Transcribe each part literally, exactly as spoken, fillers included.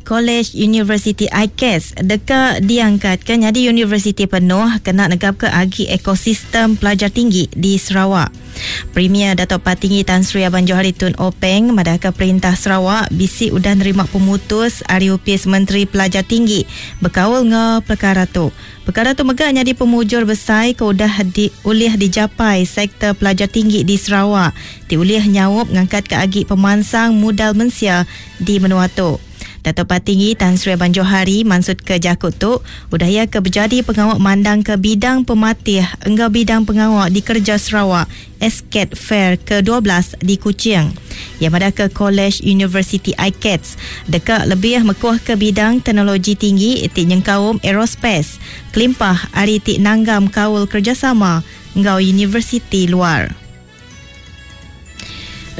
College University I C A S deka diangkat ke nyadi universiti penuh kena negap ke agi ekosistem pelajar tinggi di Sarawak. Premier Datuk Patinggi Tan Sri Abang Johari Tun Openg madahka perintah Sarawak bisi udah nerima pemutus ari Opis Menteri Pelajar Tinggi bekaul nge perkara tu. Perkara tu mega nyadi pemujur besar ke udah di, ulih dijapai sektor pelajar tinggi di Sarawak ti ulih nyaup ngangkat ke agi pemansang modal mensia di menua tu. Datuk Patinggi Tan Sri Abang Johari maksud ke jakut tu udah ia ke berjadi pengawak mandang ke bidang pematih enggau bidang pengawak di kerja Sarawak S C A T Fair ke dua belas di Kuching. Yang pada ke College University I C A T S dekat lebih mekuh ke bidang teknologi tinggi ti nyengkaum aerospace kelimpah ari ti nanggam kaul kerjasama enggau universiti luar.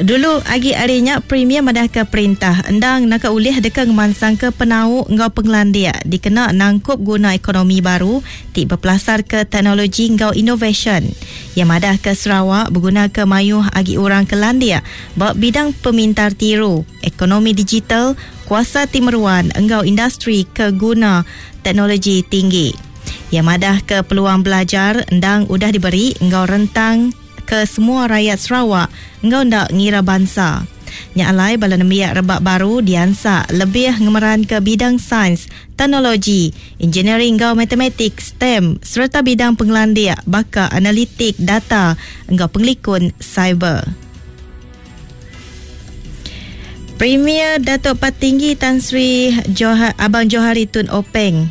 Dulu agi harinya Premier madah ke perintah endang nak ulih deka ngemansang ke penau enggau penglandia dikena nangkup guna ekonomi baru ti berpelasar ke teknologi enggau innovation. Yang madah ke Sarawak berguna ke mayuh agi orang ke landia ba bidang pemintar tiru, ekonomi digital, kuasa timeruan enggau industri ke guna teknologi tinggi. Yang madah ke peluang belajar endang udah diberi enggau rentang ke semua rakyat Sarawak enggau ndak ngira bangsa. Nya alai bala nembiak rebak baru diansa lebih ngemeran ke bidang sains, teknologi, engineering enggau matematik, STEM serta bidang penglandia baka analitik data enggau pengelikun cyber. Premier Datuk Patinggi Tan Sri Johar, Abang Johari Tun Openg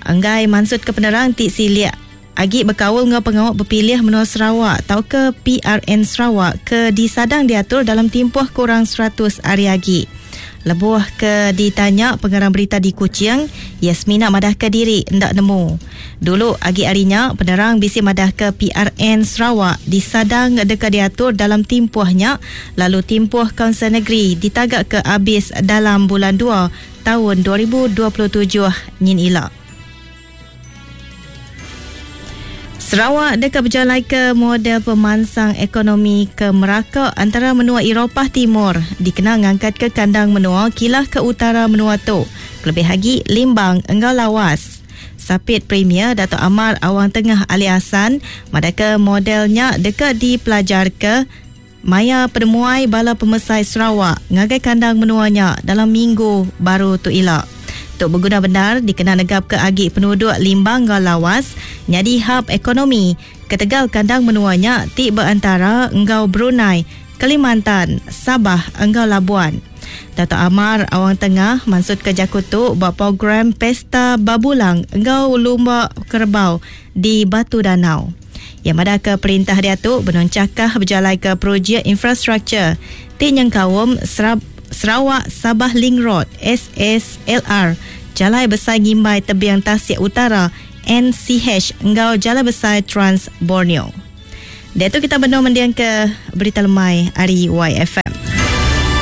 enggai maksud ke penerang ti siliak agi berkaul ngau pengawak berpilih menua Sarawak atau ke P R N Sarawak ke disadang diatur dalam tempoh kurang seratus hari agi. Lebuh ke ditanya pengarang berita di Kuching, Yasmina madah ke diri ndak nemu. Dulu agi harinya penerang bisi madah ke P R N Sarawak disadang deka diatur dalam tempohnya lalu tempoh Kaunsil Negeri ditagak ke habis dalam bulan dua tahun dua ribu dua puluh tujuh nyin ila. Sarawak dekat berjalan ke model pemansang ekonomi ke Meraka antara menua Eropah Timur dikenal ngangkat ke kandang menua kilah ke utara menua tu lebih lagi Limbang enggau Lawas. Sapit Premier Datuk Amar Awang Tengah Ali Hasan madaka modelnya dekat dipelajar ke maya penemuai bala pemesai Sarawak ngagai kandang menuanya dalam minggu baru tu ila. Tok berguna benar dikenal negap ke agi penduduk Limbang enggau Lawas nyadi hub ekonomi ketegal kandang menuanya ti berantara enggau Brunei, Kalimantan, Sabah enggau Labuan. Datuk Amar Awang Tengah maksud ke jakutu buat program Pesta Babulang enggau Lumba Kerbau di Batu Danau. Yang ada ke perintah dia tu benoncakah berjalai ke projek infrastruktur ti nyengkaum Serab Sarawak Sabah Link Road S S L R, Jalai Besar Ngimbai Tebiang Tasik Utara N C H enggau Jalai Besar Trans Borneo. Dia tu kita benar mendiang ke berita lemai hari Y F M.